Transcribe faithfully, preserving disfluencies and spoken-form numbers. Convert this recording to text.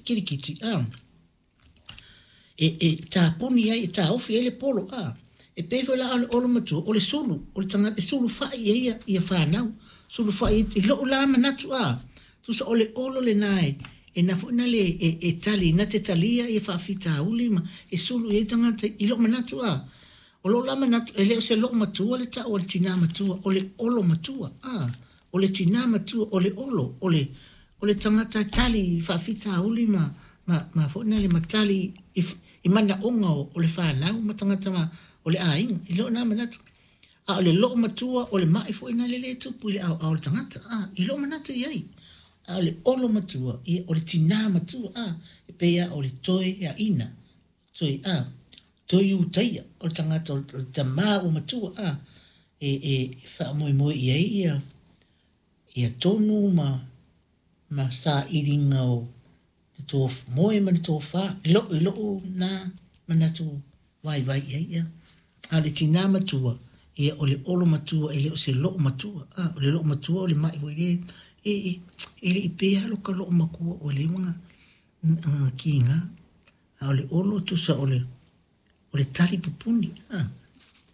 Kilikiti a e e tapuni ai e taofi ai le polo a. E pei foi la o le olo matua o le sulu, o le tagata e sulufai i ai ia, ia fanau, sulufai i lou la manatu a, tusa o le olo lena e e na foi na le e, e tali na te talia ia faafitauli ma e sulu i ai tagata i lou manatu a. O lou la manatu e le o se loo matua le tau o le tinā matua, o le olo matua a, o le tinā matua o le olo, o le o le tagata e tali i faafitauli ma ma ma foi na le ma tali i, i manaoga o, o le fanau ma tagata ma o le aiga i lou na manatu. A o le loo matua o le mai foi na le le tupu i le aoao o le tagata a, i lou manatu i ai. A o le olo matua ia o le tinā matua a, e pei a o le toe aina toe a toe utaia o le tagata o le tamā ua matua a, e e faamoemoe i ai ia ia tonu ma ma sailiga o le tof moe ma le tofa i lou i lou na manatu vaivai i ai ia. A o le tinā matua ia o le olo matua e le o se loo matua a, o le loo matua o le mai foi le e e e le i pea lo ka loo matua o le maga kiga. A o le olo tusa o le o le tali pupuni a.